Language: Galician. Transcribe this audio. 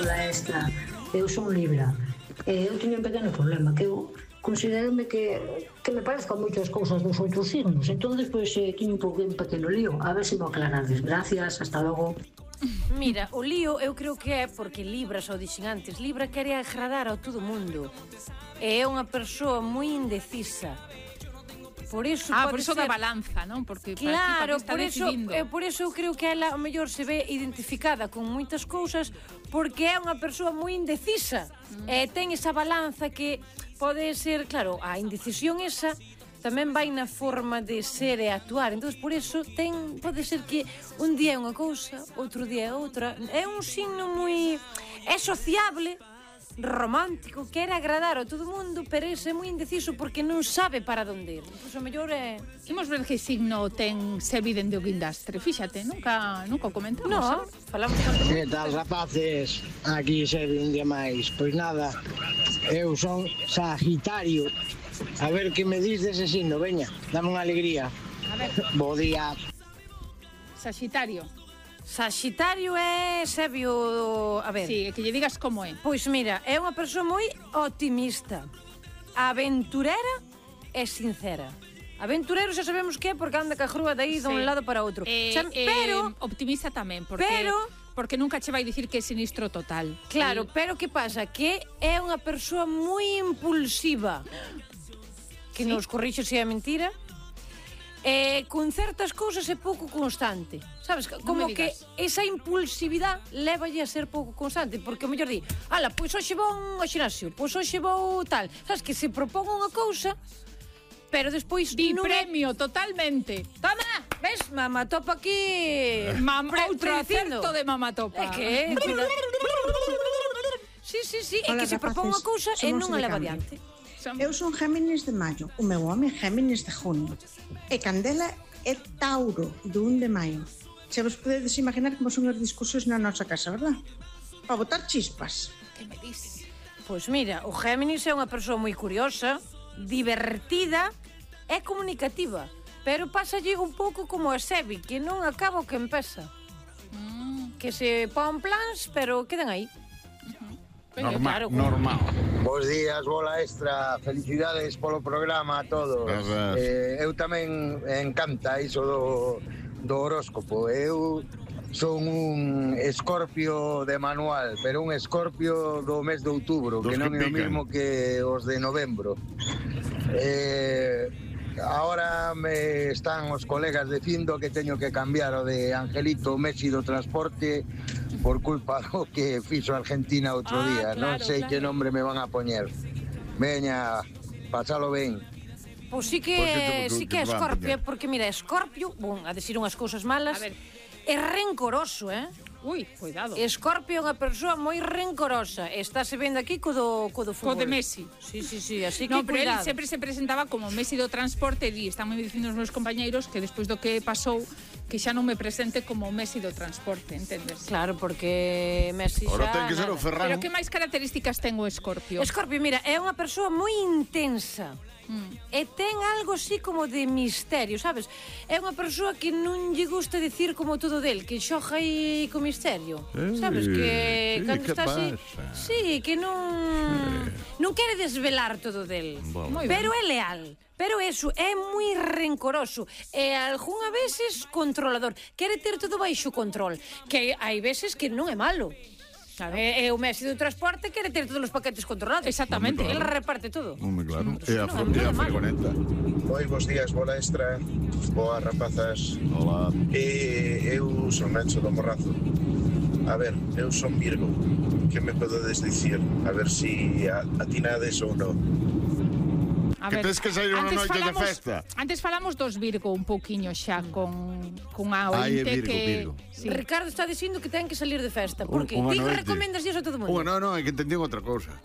Hola, Extra. Eu son Libra. Eu teño un pequeno problema, que eu considerome que me parezcan moitas cousas dos outros signos. Entón, pois, teño un pequeno lío. A ver se me aclarades. Gracias, hasta logo. Mira, o lío eu creo que é porque Libra, xa o dixen antes, Libra quere agradar a todo mundo. É unha persoa moi indecisa. Por iso por iso da balanza, non? Porque claro, por eso eu creo que ela, ao mellor, se ve identificada con moitas cousas porque é unha persoa moi indecisa. Ten esa balanza que pode ser, claro, a indecisión esa tamén vai na forma de ser e actuar. Entón, por iso, pode ser que un día é unha cousa, outro día é outra. É un signo moi... É sociable, romántico, quere agradar a todo mundo, pero ese é moi indeciso porque non sabe para onde ir. Pois, o mellor é... Imos ver que signo ten Sebi dende o Guindastre. Fíxate, nunca o comentamos. No, falamos tanto. Que tal, rapaces? Aquí Sebi un día máis. Pois nada, eu son Sagitario. A ver que me dis dese signo, veña, dame unha alegría. A ver. Bo día. Sagitario. Sagitario é Sebio, a ver. Sí, que lle digas como é. Pois mira, é unha persoa moi optimista, aventurera e sincera. Aventurero xa sabemos que é porque anda ca grúa dai dun lado para outro. Pero optimista tamén, porque nunca che vai dicir que é sinistro total. Claro, pero que pasa? Que é unha persoa moi impulsiva. Que nos corrixe se é mentira. Con certas cousas é pouco constante. Sabes, como que esa impulsividade lévalle a ser pouco constante, porque o mellor di, ala, pois hoxe vou ao xinasio, pois hoxe vou tal. Sabes, que se propón unha cousa, pero despois di premio totalmente. Toma, ves, mamá topa aquí. Outro acerto de mamá topa. É que sí, é que se propón unha cousa e non a leva adiante. Eu son Géminis de maio, o meu home é Géminis de junio. E Candela é Tauro, do 1 de maio. Se vos podedes imaginar como son os discursos na nosa casa, verdad? Para botar chispas. Que me dis? Pois mira, o Géminis é unha persoa moi curiosa, divertida e comunicativa. Pero pásalle un pouco como a Sebi, que non acaba o que empeza. Que se pon plans, pero quedan aí. Normal. Bos días, bola extra. Felicidades polo programa a todos. Eu tamén encanta iso do horóscopo. Eu son un escorpio de manual, pero un escorpio do mes de outubro, que non é o mesmo que os de novembro. Ahora me están os colegas dicindo que teño que cambiar o de Angelito Messi do transporte por culpa do que fixo Argentina outro día. Non sei que nombre me van a poñer. Veña, pasalo ben. Pois sí que é Escorpio, porque mira, Escorpio, a decir unhas cousas malas, é rencoroso, Ui, cuidado. Escorpio é unha persoa moi rencorosa. Estáse vendo aquí co do fútbol. Co de Messi. Sí, así que no, pero cuidado. Ele sempre se presentaba como Messi do transporte e están me dicindo os meus compañeiros que despois do que pasou que xa non me presente como Messi do transporte, entendes? Claro, porque Messi xa... Ahora ten que ser o Ferran. Pero que máis características ten o Escorpio? Escorpio, mira, é unha persoa moi intensa. E ten algo así como de misterio, sabes? É unha persoa que non lle gusta dicir como todo del, que xoja aí co misterio. Sabes? Que cando está así... Sí, que non quere desvelar todo del. Pero é leal. Pero eso, é moi rencoroso. E algunha veces controlador. Quere ter todo baixo control. Que hai veces que non é malo. E o Messi do transporte quere ter todos os paquetes controlados. Exactamente, ele reparte todo. Claro. E a fregoneta. Moi bons días, bola extra. Boas rapazas. Hola. Eu son Nacho do Morrazo. A ver, eu son Virgo. Que me podedes dicir? A ver si atinades ou non. Que tens que sair unha noite de festa. Antes falamos dos Virgo un pouquiño xa con a ointe Virgo. Sí. Ricardo está dicindo que ten que salir de festa. Por que? Ti recomendas iso a todo mundo? Non, é que entendín outra cousa.